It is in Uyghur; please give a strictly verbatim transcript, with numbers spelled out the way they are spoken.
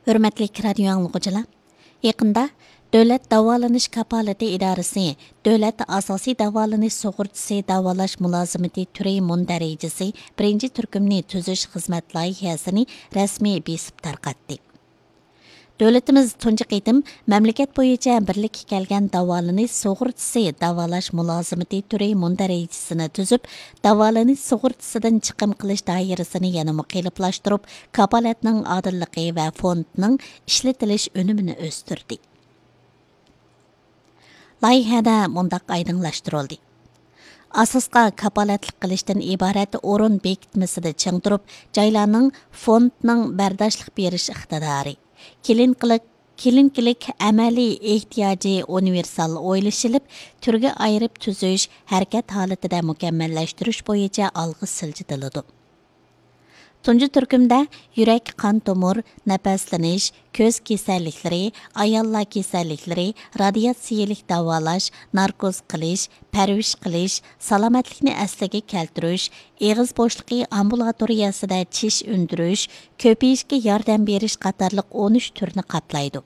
ھۆرمەتلىك رادىيو ئاڭلىغۇچىلار، يېقىندا دۆلەت داۋالىنىش كاپالىتى ئىدارىسى دۆلەت ئاساسىي داۋالىنىش سۇغۇرتىسى داۋالاش مۇلازىمىتى تۈرى مۇندەرىجىسى بىرىنچى تۈركۈمنى تۈزۈش خىزمەت لايىھەسىنى رەسمىي بېسىپ تارقاتتى. دۆلىتىمىز تۇنجى قېتىم مەملىكەت بويىچە بىرلىككە كەلگەن داۋالىنىش سۇغۇرتىسى داۋالاش مۇلازىمىتى تۈرى مۇندەرىجىسىنى تۈزۈپ، داۋالىنىش سۇغۇرتىسىدىن چىقىم قىلىش دائىرىسىنى يەنىمۇ قېلىپلاشتۇرۇپ، كاپالەتنىڭ ئادىللىقى ۋە فوندنىڭ ئىشلىتىلىش ئۈنۈمىنى ئۆستۈردى. لايىھەدە مۇنداق ئايدىڭلاشتۇرۇلدى: ئاساسقا كاپالەتلىك قىلىشتىن ئىبارەت ئورۇن بېكىتمىسىدە چىڭ تۇرۇپ، جايلارنىڭ فوندنىڭ بەرداشلىق بېرىش ئىقتىدارى، كلىنىكىلىق، كلىنىكىلىك ئەمەلىي ئېھتىياجى ئۇنىۋېرسال ئويلىشىلىپ، تۈرگە ئايرىپ تۈزۈش، ھەرىكەت ھالىتىدە مۇكەممەللەشتۈرۈش بويىچە ئالغا سىلجىتىلىدۇ. تۇنجى تۈركۈمدە يۈرەك، قان تومۇر، نەپەسلىنىش، كۆز كېسەللىكلىرى، ئاياللار كېسەللىكلىرى، رادىياتسىيەلىك داۋالاش، ناركوز قىلىش، پەرۋىش قىلىش، سالامەتلىكنى ئەسلىگە كەلتۈرۈش، ئېغىز بوشلۇقى ئامبۇلاتورىيەسىدە چىش ئۈندۈرۈش، كۆپىيىشكە ياردەم بېرىش قاتارلىق ئون ئۈچ تۈرنى قاپلايدۇ.